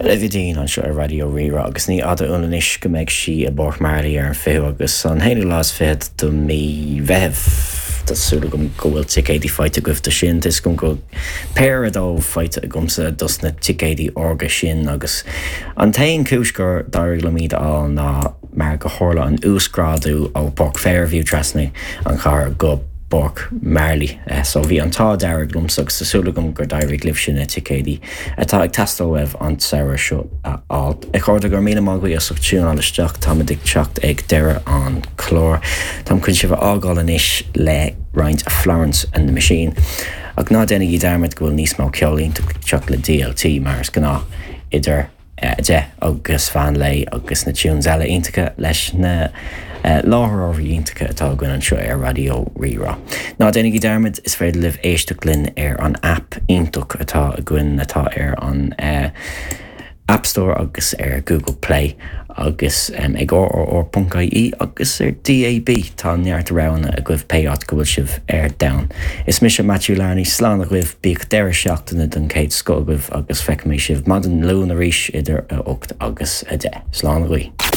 Olivia Dean anseo ar Raidió Rí-Rá agus ní fhada uainn anois go mbeidh sí i bPáirc Marley ar an 20ú agus an haonú lá is fichead de mí Mheithimh. Tá súil agam go bhfuil ticéidí faighte agaibh do sin. Tá 'fhios agam go bhfuil péire dóibh faighte agamsa dos na ticéidí órga sin agus an t-aon chúis gur d'éirigh liom iad a fháil ná mar go tharla an uasghrádú ó Páirc Fairview trasna an chathair go Páirc Marley. So bhí an t-ádh dearg liomsa agus tá súil agam gur d'éirigh libhse na ticéidí atá ag teastáil uaibh an tsamhradh seo a fháil. A chairde, go raibh míle maith agaibh as ucht tiúnáil isteach, táimid ag teacht ag deireadh an chláir. Táim chun sibh a fhágáil anois le roinnt Florence and the Machine. Ach ná déanaigí dearmad go bhfuil níos mó ceol iontach ag teacht le DLT mar is gnáth idir 10 agus mheán lae agus na tunes eile iontacha leis na láithreoirí iontacha atá againn anseo ar Raidió Rí-Rá. Ná déanaigí dearmad, is féidir libh éisteacht linn ar an aip iontach atá againn atá ar an App Store agus ar Google Play agus ag rrr.ie agus ar DAB. Tá neart roghanna agaibh pé áit go bhfuil sibh ar domhan. Is mise Matthew Larney, slán agaibh, bíodh deireadh seachtaine den chéad scoth agaibh agus feicfidh mé sibh maidin Luain arís idir 8 agus 10. Slán agaibh.